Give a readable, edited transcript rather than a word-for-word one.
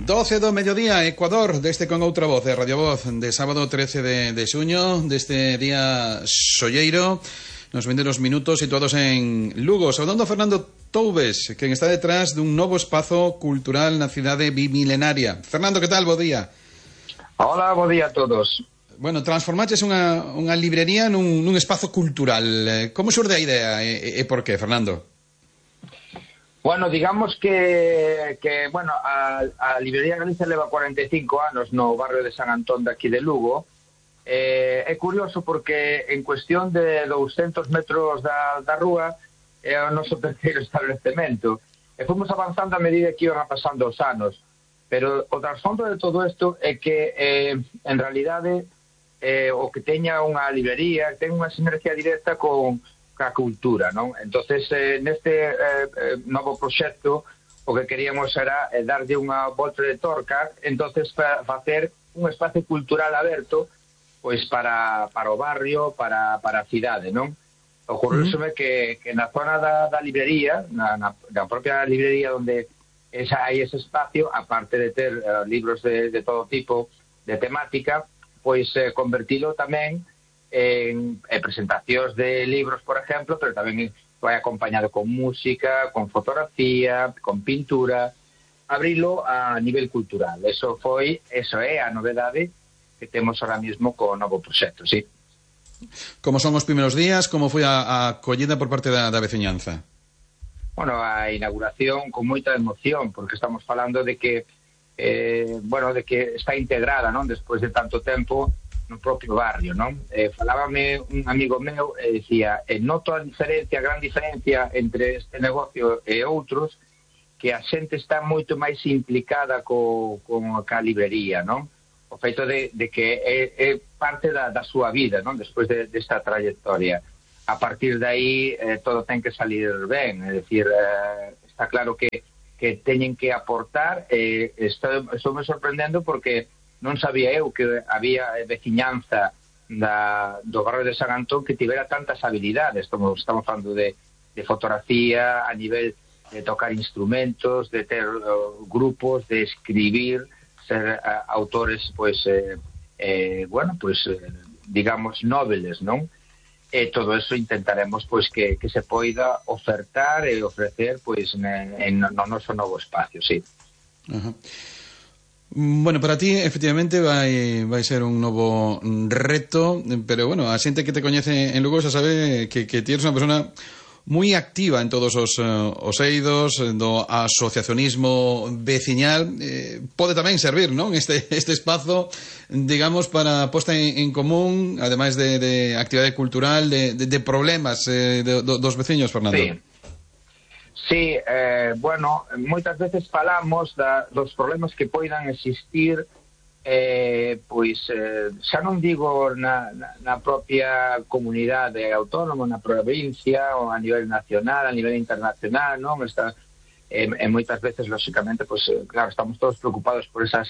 12 do mediodía, Ecuador, deste con outra voz de Radio Voz, de sábado 13 de xuño, deste día solleiro, nos vindeiros minutos situados en Lugo. Saudando a Fernando Toubes, quen está detrás dun novo espazo cultural na cidade bimilenaria. Fernando, que tal? Bo día. Hola, bo día a todos. Bueno, transformaches unha librería nun espazo cultural. Como xurde a idea e por qué, Fernando? Bueno, digamos que a Librería Galicia leva 45 anos no barrio de San Antón de aquí de Lugo. É curioso porque en cuestión de 200 metros da rúa é o noso terceiro establecemento. E fomos avanzando a medida que iban pasando os anos. Pero o trasfondo de todo isto é que, en realidade, o que teña unha librería ten unha sinergia directa con a cultura, non? Entonces, neste novo proxecto, o que queríamos era darlle unha volta de torca, entonces para facer un espacio cultural aberto, pois para o barrio, para a cidade, non? Ocorreuseme que na zona da librería, na propia librería onde hai ese espacio, aparte de ter libros de todo tipo, de temática, pois convertilo tamén en presentacións de libros, por exemplo, pero tamén vai acompañado con música, con fotografía, con pintura, abrilo a nivel cultural. Eso é a novedade que temos ahora mismo co novo proxecto, sí. Como son os primeiros días? Como foi a acollida por parte da veciñanza? Bueno, a inauguración con moita emoción, porque estamos falando de que de que está integrada, non? Despois de tanto tempo no propio barrio, non? Falábame un amigo meu e dicía, noto a gran diferencia entre este negocio e outros, que a xente está moito máis implicada ca librería, non? O feito de que é parte da súa vida, non? Despois desta trayectoria. A partir de aí todo ten que salir ben, é dicir, está claro que teñen que aportar. Estou me sorprendendo porque non sabía eu que había veciñanza do barrio de San Antón que tivera tantas habilidades. Estamos falando de fotografía, a nivel de tocar instrumentos, de ter grupos, de escribir, ser autores, digamos, noveles, non? E todo eso intentaremos que se poida ofertar e ofrecer no noso novo espacio, sí. Ajá. Bueno, para ti, efectivamente, vai ser un novo reto, pero, bueno, a xente que te coñece en Lugo xa sabe que ti eres unha persona moi activa en todos os eidos do asociacionismo veciñal. Pode tamén servir, non? Este espazo, digamos, para posta en común, ademais de actividade cultural, de problemas dos veciños, Fernando. Sí. Sí, moitas veces falamos dos problemas que poidan existir, xa non digo na propia comunidade autónoma, na provincia, ou a nivel nacional, a nivel internacional, non? Moitas veces, lóxicamente, claro, estamos todos preocupados por esas